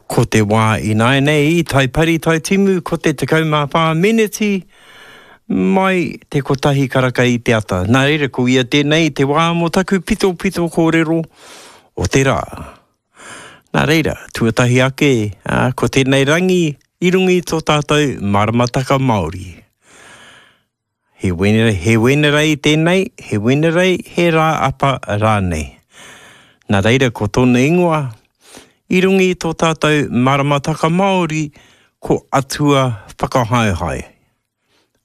Ko te wā ināianei i Taipari Taitimu ko te 14 meneti mai te kotahi karaka i te ata. Nā reira ko ia tēnei te wā mō taku pitopito kōrero o te rā. Nā reira, tuatahi ake, ā, ko tēnei rangi i runga i tō tātou maramataka Māori. He Wenerei, he Wenerei tēnei, he Wenerei, he rā apa rānei. Nā reira ko tōna ingoa, i runga i tō tātou maramataka Māori, ko Atua Whakahaehae.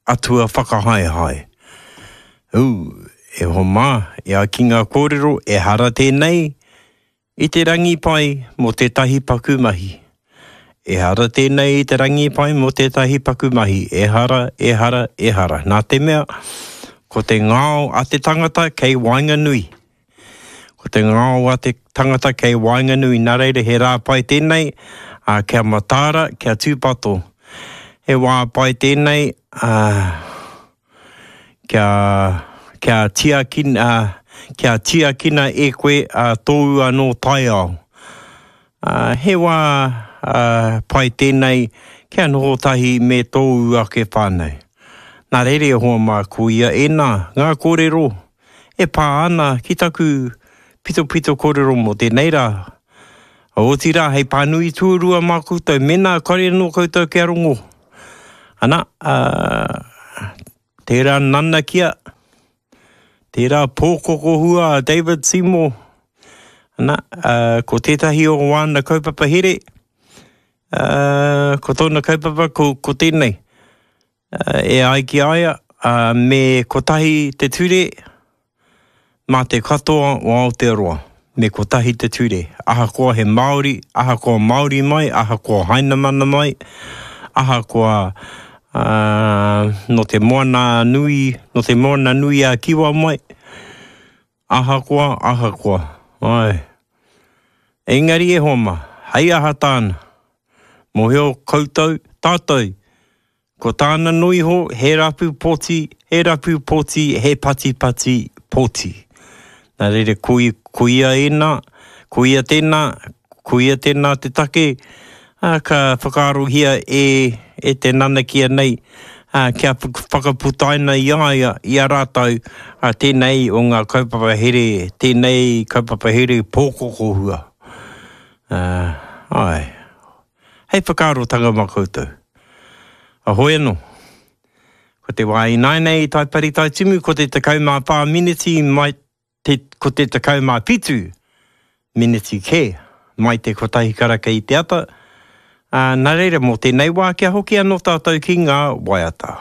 Atua Whakahaehae. Ū, e hoa mā, e ai ki ngā kōrero, ehara tēnei I te rangi pai mō tētahi paku mahi. Ehara tēnei i te rangi pai mō tētahi paku mahi, ehara, ehara, ehara. Nā te mea, ko te ngao a te tangata kei waenganui. Ko te ngao a te tangata kei waenganui, nā reira he rā pai tēnei, ā, kia mataara, kia tūpato. He wā pai tēnei, ā, Kia, kia tiakina, kia tiakina e koe a tōu anō taiao. Ā, he wā, ā, pai tēnei kia noho tahi me tōu ake whānau. Nā reira e hoa mā, ko ia ēnā ngā kōrero e pā ana ki taku pitopito kōrero mō tēnei rā. Otirā, hei pānui tuarua mā koutou, mēnā kare anō koutou kia rongo. Ana, ā, tērā nanakia, tērā pōkokohua a David Seymour, ana, ā, ko tētahi o wāna kaupapa here, ā, ko tōna kaupapa ko, ko tēnei. E ai ki a ia, me kotahi te ture mā te katoa o Aotearoa, me kotahi te ture, ahakoa he Māori, ahakoa Māori mai, ahakoa Hainamana mai, ahakoa nō te Moana nui, nō te Moana nui a Kiwa mai, ahakoa, ahakoa, āe. Engari e hoa mā, hei aha tāna? Mōhio koutou, tātou, Ko tāna noa iho, he rapu poti, he rapu poti, he patipati poti. Nā reira, ko, ko ia ēnā, ko ia tēnā, ko ia tēnā te take, ā, ka whakaarohia e, e te nanakia nei, ā, kia whakaputaina i a ia, i a rātou, ā, tēnei o ngā kaupapa here, tēnei kaupapa here pōkokohua. Ā, āe. Hei whakaarotanga mā koutou. Ahoi anō. Ko te wā ināianei i Taipari Taitimu ko te 14 miniti mai te, ko te 17 miniti kē mai te kotahi karaka i te ata, ā, nā reira mō tēnei wā kia hoki anō tātou ki ngā waiata.